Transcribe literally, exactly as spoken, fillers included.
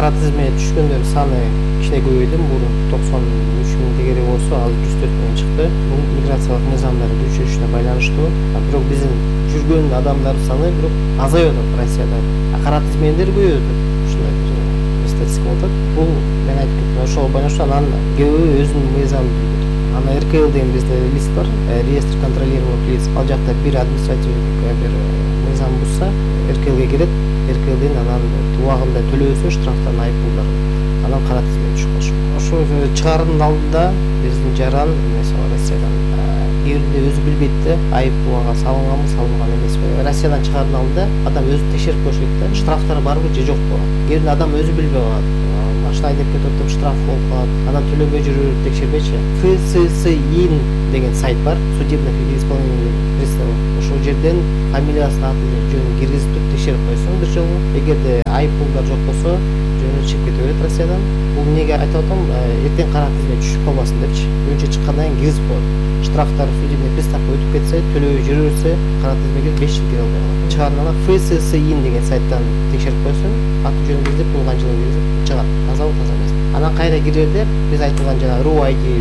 кара тизмеге түшкөндөр саны кичине көбөйдү. Мурун токсон үч миң тегере болсо, азыр жүз төрт миң чыкты. Бул миграциялык мыйзамдардын күчөнүшүнө байланыштуу. Бирок биздин жүргөн адамдар саны бирок азаюп атат Россияда. Кара тизмелер көбөйүп атат. Ушундай бир статистика болуп атат. Бул мен айтып кеттим, ошого байланыштуу анан көбү өзүнүн мыйзамын билбейт. Ана эр ка эл деген бизде лист бар, реестр контролируемых лиц. Ал жакта бир административный бир мыйзам бузса, эр ка элге кирет, эр ка элден анан убагында төлөбөсө штрафтарын, айыппулдарын анан кара тизмеге түшүп калышы. Ошо чыгаардын алдында биздин жаран эмеси бар Россиядан. Кээ бирде өзү билбейт да, айып буга салынганбы, салынган эмеспи. Россиядан чыгаардын алдында адам өзү текшерип коюш керек да, штрафтар барбы же жокпу. Кээ бирде адам өзү билбей калат. Машина айдап кетип атып штраф болуп калат. Анан төлөбөй жүрүп текшербечи. эф эс эс ин деген сайт бар, судебных исполнительных приставов. Ошол жерден фамилиясын, атын, жөнүн киргизип туруп текшерип койсоң бир жолу. Эгерде айыппулдар жок болсо, жөнү чыгып кете берет Россиядан. Бул эмнеге айтып атам? Эртең кара тизмеге түшүп калбасын депчи. Бүгүнчө чыккандан кийин киргизип коет. Штрафтар судебный приставга өтүп кетсе, төлөбөй жүрө берсе, кара тизмеге беш жыл кире албай калат. Чыгаардын эф эс эс ин деген сайттан текшерип койсоң, аты жөнүн киргизип, туулган жылын киргизип чыгат. Тазабы, таза эмеспи. Анан кайра кирерде биз айтылган жана ру ай ди